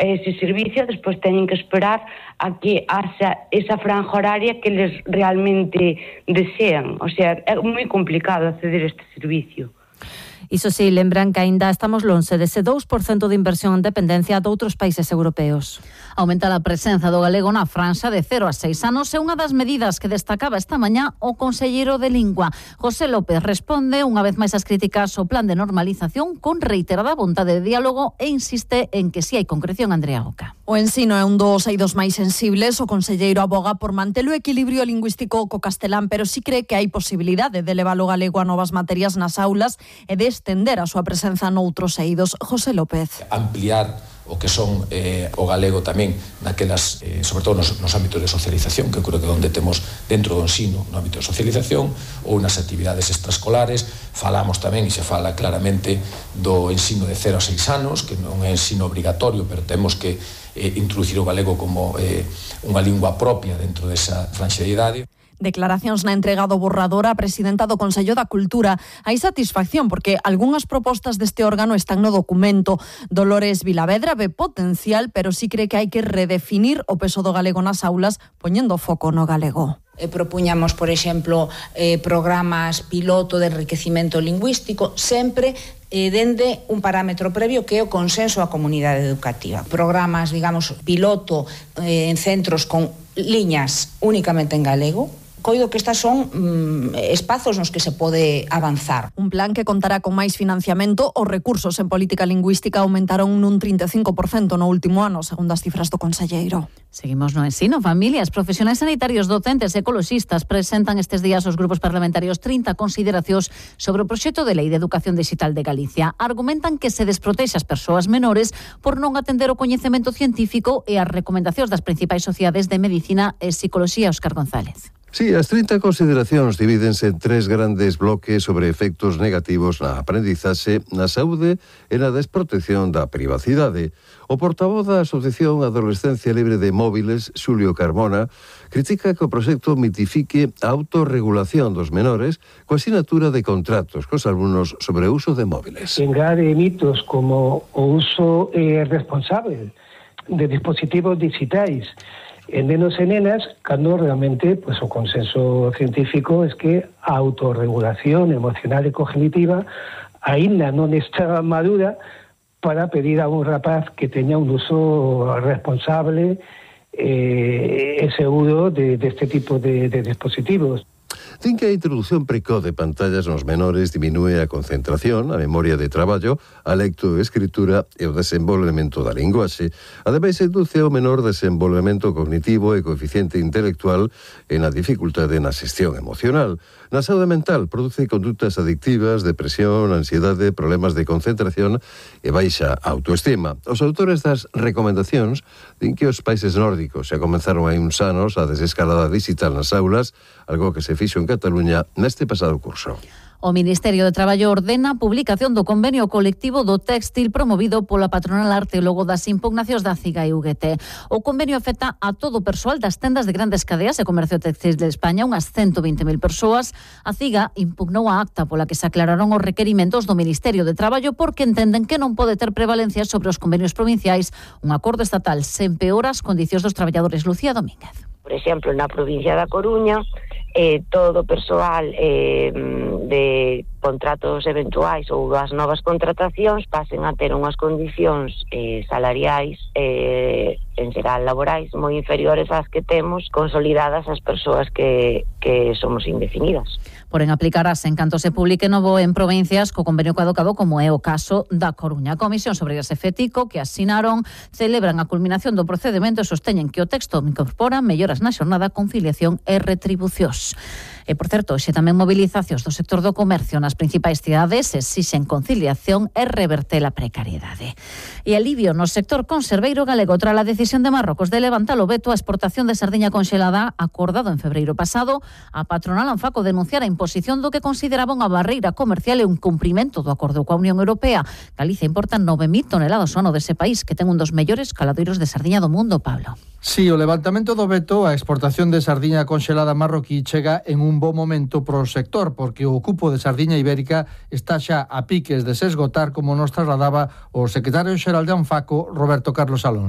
ese servicio, despois teñen que esperar a que haxa esa franja horaria que les realmente desean. O sea, é moi complicado acceder a este servicio. Iso sí, lembran que aínda estamos lonxe dese 2% de inversión en dependencia de outros países europeos. Aumenta a presenza do galego na franxa de 0 a 6 anos é unha das medidas que destacaba esta mañá o conselleiro de Lingua. José López responde unha vez máis ás críticas ao plan de normalización con reiterada vontade de diálogo e insiste en que si hai concreción. Andrea Oca. O ensino é un dos eidos máis sensibles. O conselleiro aboga por manter o equilibrio lingüístico co castelán, pero si cree que hai posibilidade de levar o galego a novas materias nas aulas e de estender a súa presenza noutros eidos. José López. Ampliar o que son o galego tamén naquelas, sobre todo nos ámbitos de socialización, que creo que onde temos dentro do ensino, no ámbito de socialización ou nas actividades extraescolares. Falamos tamén, e se fala claramente, do ensino de 0 a 6 anos, que non é ensino obrigatorio, pero temos que introducir o galego como unha lingua propia dentro desa franxa de idade. Declaracións na entrega do borrador á presidenta do Consello da Cultura. Hai satisfacción porque algunhas propostas deste órgano están no documento. Dolores Vilavedra ve potencial, pero sí cree que hai que redefinir o peso do galego nas aulas, poñendo foco no galego. Propuñamos, por exemplo, programas piloto de enriquecimento lingüístico, sempre dende un parámetro previo que é o consenso á comunidade educativa. Programas, digamos, piloto en centros con liñas únicamente en galego. Coido que estas son espazos nos que se pode avanzar. Un plan que contará con máis financiamento. Os recursos en política lingüística aumentaron nun 35% no último ano, segundo as cifras do conselleiro. Seguimos no ensino. Familias, profesionais sanitarios, docentes e ecoloxistas presentan estes días aos grupos parlamentarios 30 consideracións sobre o proxecto de lei de educación digital de Galicia. Argumentan que se desprotexe as persoas menores por non atender o coñecemento científico e as recomendacións das principais sociedades de medicina e psicoloxía. Óscar González. Sí, as 30 consideracións divídense en 3 grandes bloques sobre efectos negativos na aprendizaxe, na saúde e na desprotección da privacidade. O portavoz da Asociación Adolescencia Libre de Móviles, Xulio Carmona, critica que o proxecto mitifique a autorregulación dos menores coa sinatura de contratos cos alumnos sobre o uso de móviles. Engade mitos como o uso responsable de dispositivos digitais en nenos e nenas, cando realmente o consenso científico é que a autorregulación emocional e cognitiva aínda non está madura para pedir a un rapaz que teña un uso responsable e seguro deste tipo de dispositivos. Din que a introducción precoz de pantallas nos menores diminúe a concentración, a memoria de traballo, a lectoescritura e o desenvolvemento da linguaxe. Ademais, induce ao menor desenvolvemento cognitivo e coeficiente intelectual e na dificultade na xestión emocional. Na saúde mental, produce condutas adictivas, depresión, ansiedade, problemas de concentración e baixa autoestima. Os autores das recomendacións din que os países nórdicos xa comenzaron hai uns anos a desescalada digital nas aulas, algo que se fixo en Cataluña neste pasado curso. O Ministerio de Traballo ordena a publicación do convenio colectivo do téxtil promovido pola patronal arte logo das impugnacións da CIGA e UGT. O convenio afecta a todo o persoal das tendas de grandes cadeas e comercio textil de España, unhas 120.000 persoas. A CIGA impugnou a acta pola que se aclararon os requerimentos do Ministerio de Traballo porque entenden que non pode ter prevalencia sobre os convenios provinciais. Un acordo estatal se empeora as condicións dos traballadores. Lucía Domínguez. Por exemplo, na provincia da Coruña, todo o persoal de contratos eventuais ou das novas contratacións pasen a ter unhas condicións salariais en xeral laborais moi inferiores ás que temos consolidadas as persoas que somos indefinidas. Porén, aplicarase en canto se publique novo en provincias co convenio caducado, como é o caso da Coruña. A Comisión sobre ese FETICO que asinaron celebran a culminación do procedimento e sosteñen que o texto incorpora melloras na xornada, conciliación e retribucións. E, por certo, xe tamén movilizacións do sector do comercio nas principais cidades exixen conciliación e reverter a precariedade. E alivio no sector conserveiro galego tras a decisión de Marrocos de levantar o veto á exportación de sardiña conxelada acordado en febreiro pasado. A patronal Anfaco denunciara a imposición do que consideraba unha barreira comercial e un cumprimento do acordo coa Unión Europea. Galicia importa 9.000 toneladas ao ano dese país, que ten un dos mellores caladoiros de sardiña do mundo, Pablo. Sí, o levantamento do veto á exportación de sardiña conxelada marroquí chega en un bo momento pro sector, porque o cupo de sardiña ibérica está xa a piques de se esgotar, como nos trasladaba o secretario xeral de Anfaco, Roberto Carlos Alonso.